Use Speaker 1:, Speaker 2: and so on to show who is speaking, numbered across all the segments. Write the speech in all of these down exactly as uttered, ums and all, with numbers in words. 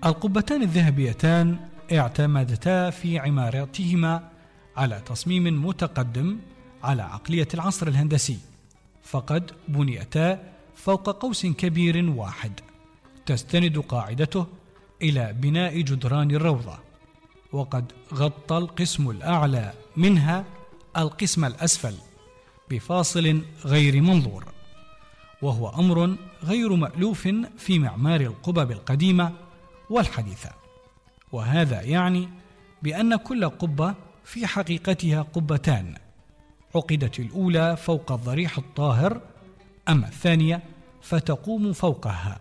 Speaker 1: القبتان الذهبيتان اعتمدتا في عمارتهما على تصميم متقدم على عقلية العصر الهندسي، فقد بنيتا فوق قوس كبير واحد تستند قاعدته إلى بناء جدران الروضة، وقد غطى القسم الأعلى منها القسم الأسفل بفاصل غير منظور، وهو أمر غير مألوف في معمار القبب القديمة والحديثة. وهذا يعني بأن كل قبة في حقيقتها قبتان، عقدت الأولى فوق الضريح الطاهر، أما الثانية فتقوم فوقها،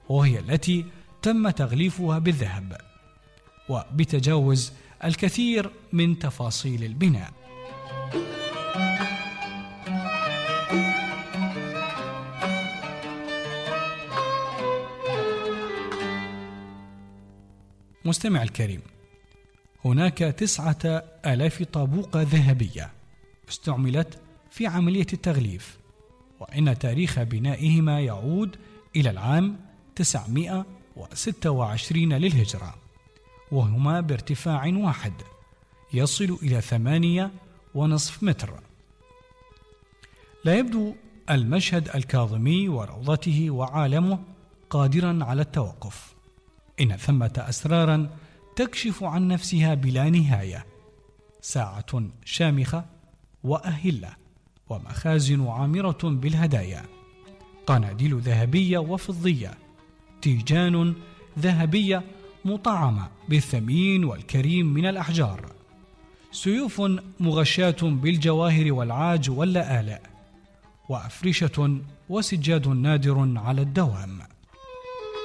Speaker 1: وهي التي تم تغليفها بالذهب، وبتجاوز الكثير من تفاصيل البناء. مستمع الكريم، هناك تسعة آلاف طابوقة ذهبية استعملت في عملية التغليف، وإن تاريخ بنائهما يعود إلى العام تسعمائة وستة وعشرين للهجرة، وهما بارتفاع واحد يصل إلى ثمانية ونصف متر. لا يبدو المشهد الكاظمي وروضته وعالمه قادرا على التوقف، إن ثمة أسرارا تكشف عن نفسها بلا نهاية، ساعة شامخة وأهلة، ومخازن عامرة بالهدايا، قناديل ذهبية وفضية، تيجان ذهبية مطعمة بالثمين والكريم من الأحجار، سيوف مغشاة بالجواهر والعاج واللآلئ، وأفرشة وسجاد نادر على الدوام.